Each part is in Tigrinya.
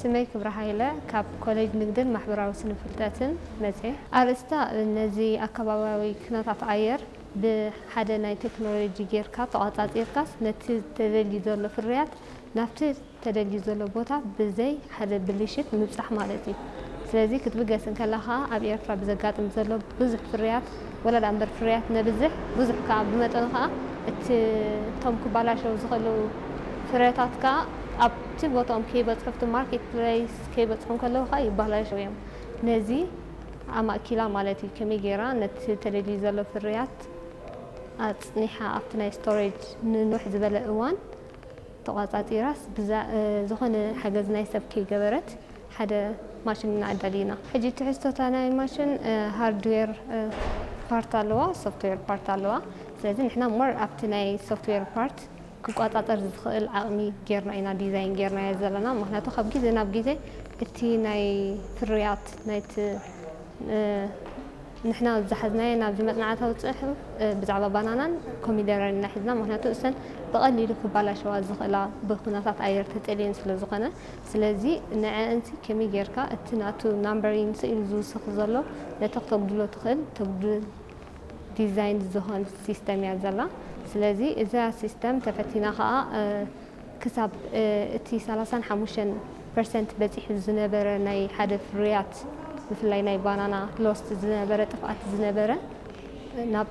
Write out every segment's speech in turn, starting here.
ስመይ ክብረ ሃይለ፣ ካብ ኮሌጅ ንግድን ማሕበራዊ ስነ ፍልጠትን መጽየ። ኣርእስታ፣ ነዚ ኣከባቢያዊ ኩነታት ኣየር ብሓደ ናይ ቴክኖሎጂ ጌርካ ተቋጻጺርካስ ነቲ ተደልዩ ዘሎ ፍርያት ናብቲ ተደልዩ ዘሎ ቦታ ብዘይ ሓደ ብልሽት ምብጻሕ ማለት እዩ። ስለዚ ክትብገስ እንከላ ኸኣ ኣብ ኤርትራ ብዘጋጥም ዘሎ ብዙሕ ፍርያት፣ ወላ ደኣ እምበር ፍርያት ነብዝሕ፣ ብዙሕ ከኣ ብመጠኑ ከኣ እቲ እቶም ክባላሸው ዝኽእሉ ፍረታት ከኣ ኣብቲ ቦታኦም ከይበጽሑ፣ ኣብቲ ማርኬት ፕሌስ ከይበጽሑ እንከለዉ ከኣ ይባላሸው እዮም። ነዚ ኣማእኪላ ማለት እዩ፣ ከመይ ገይራ ነቲ ተደልዩ ዘሎ ፍርያት ኣጽኒሓ ኣብቲ ናይ ስቶሬጅ ንንውሕ ዝበለ እዋን ተቋጻጺራስ ብዛ-፣ እ፣ ዝኾነ ሓገዝ ናይ ሰብ ከይገበረት ሓደ ማሽን ኢና ኣዳሊና። ሕጂ ትሕዝቶታ ናይ ማሽን፣ እ፣ ሃርድዌር፣ እ፣ ፓርት ኣለዋ፣ ሶፍትዌር ፓርት ኣለዋ። ስለዚ ንሕና ሞር ኣብቲ ናይ ሶፍትዌር ፓርት ክቋጻጸር ዝኽእል ዓቕሚ ጌርና ኢና ዲዛይን ጌርናዮ ዘለና። ምኽንያቱ ካብ ግዜ ናብ ግዜ እቲ ናይ ፍርያት ናይቲ፣ እ፣ ንሕና ዝሓዝናዮ ናብዚ መጽናዕታዊ ጽሑፍ፣ እ፣ ብዛዕባ ባናናን ኮሚደረን ኢና ሒዝና። ምኽንያቱ እሰን ብቐሊሉ ክባላሸዋ ዝኽእላ ብኩነታት ኣየር ተጸልየን ስለ ዝኾነ። ስለዚ ንዐአንሲ ከመይ ጌርካ እቲ ናቱ ናምበሪንግ ስኢሉ ዝውስኽ ዘሎ ነቲ ክተጉድሎ ትኽእል ተጉድል ዲዛይን ዝኾን ሲስተም እያ ዘላ። ስለዚ እዛ ሲስተም ተፈቲና ኸኣ፣ እ፣ ክሳብ፣ እ፣ እቲ ሰላሳን ሓሙሽተን ፐርሰንት በጺሑ ዝነበረ ናይ ሓደ ፍርያት፣ ብፍላይ ናይ ባናና ሎስት ዝነበረ፣ ጥፍኣት ዝነበረ፣ ናብ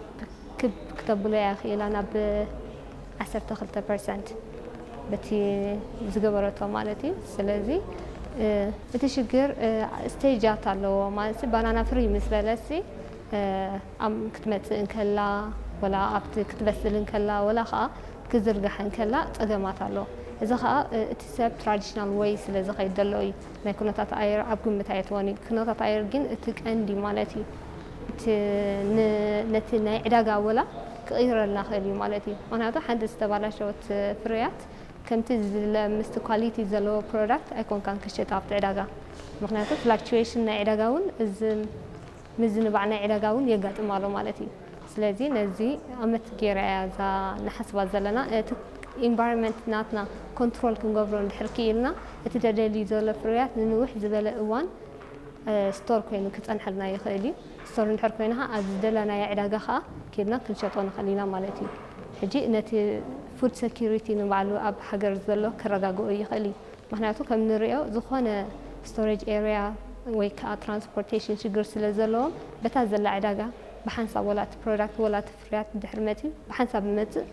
ክብ ክተብሎ እያ ክኢላ፣ ናብ ዓሰርተ ክልተ ፐርሰንት በቲ ዝገበረቶ ማለት እዩ። ስለዚ፣ እ፣ እቲ ሽግር፣ እ፣ ስቴጃት ኣለዎ ማለት፣ ባናና ፍሪ ምስ በለሲ፣ እ፣ ኣብ ክትመጽእ እንከላ፣ ወላ ኣብቲ ክትበስል እንከላ፣ ወላ ኸኣ ክዝርጋሕ እንከላ ጸገማት ኣለዎ። እዚ ኸኣ፣ እ፣ እቲ ሰብ ትራዲሽናል ወይ ስለ ዝኸይድ ዘሎ እዩ። ናይ ኩነታት ኣየር ኣብ ግምት ኣየትዎን እዩ። ኩነታት ኣየር ግን እቲ ቀንዲ ማለት እዩ። እቲ ን-፣ ነቲ ናይ ዕዳጋ ወላ ክቕይረልና ክእል እዩ ማለት እዩ። ምኽንያቱ ሓንቲ ዝተባላሸወት ፍርያት ከምቲ ዝድለ ምስቲ ኳሊቲ ዘለዎ ፕሮዳክት ኣይኮንካን ክሸጣ ኣብቲ ዕዳጋ። ምኽንያቱ ፍላክቹዌሽን ናይ ዕዳጋ እውን እዚ ምዝንባዕ ናይ ዕዳጋ እውን የጋጥም ኣሎ ማለት እዩ። ስለዚ ነዚ ኣመት ገይራ እያ እዛ ንሓስባ ዘለና። እቲ ኢንቫይሮንመንት ናትና ኮንትሮል ክንገብሮ እንድሕር ክኢልና፣ እቲ ተደልዩ ዘሎ ፍርያት ንንውሕ ዝበለ እዋን፣ እ፣ ስቶር ኮይኑ ክጸንሐልና ይኽእል እዩ። ስቶር እንድሕር ኮይኑ ኸዓ ኣብ ዝደለናዮ ዕዳጋ ኸዓ ኬድና ክንሸጦ ንኽእል ኢና ማለት እዩ። ሕጂ ነቲ ፉድ ሴኩሪቲ ንባዕሉ ኣብ ሃገር ዘሎ ከረጋግኦ ይኽእል እዩ። ምኽንያቱ ከም ንሪኦ ዝኾነ ስቶሬጅ ኤርያ ወይ ከዓ ትራንስፖርቴሽን ሽግር ስለ ዘለዎም፣ በታ ዘላ ዕዳጋ ብሓንሳብ ወላ እቲ ፕሮዳክት ወላ እቲ ፍርያት ድሕሪ መፂኡ ብሓንሳብ ይመፅእ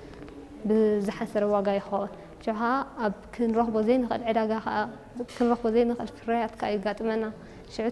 ብዝሓሰረ ዋጋ ይኸውን። ሽዑ ከዓ ኣብ ክንረኽቦ ዘይንኽእል ዕዳጋ ከዓ ክንረኽቦ ዘይንኽእል ፍርያት ከዓ የጋጥመና። ሽዑ